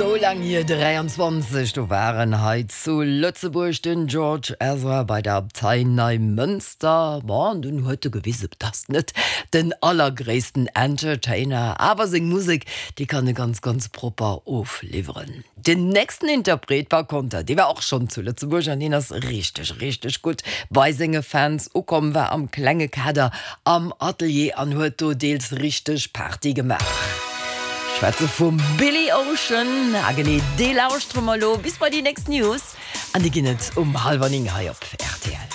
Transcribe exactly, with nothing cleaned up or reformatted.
sou laang hier, dräianzwanzeg, do war en hei zu Lëtzebuerg, den George Ezra bei der Abtei Neimënster. Bon, an dunn huet e gewisen, et ass net den allergréissten Entertainer, awer seng Musek, déi kann e ganz, ganz propper ofliwweren. Den nächsten Interpret par konter, dee war och schonn zu Lëtzebuerg an deen ass richteg, richteg gutt bei senge Fans ukomm, war am klenge Kader am Atelier an huet do deels richteg Party gemaach. Ech schwätze vum Billy Ocean. A genee dee lauschtere mer elo bis bei déi nächst News an déi ginn et um hallwer néng hei op rtl.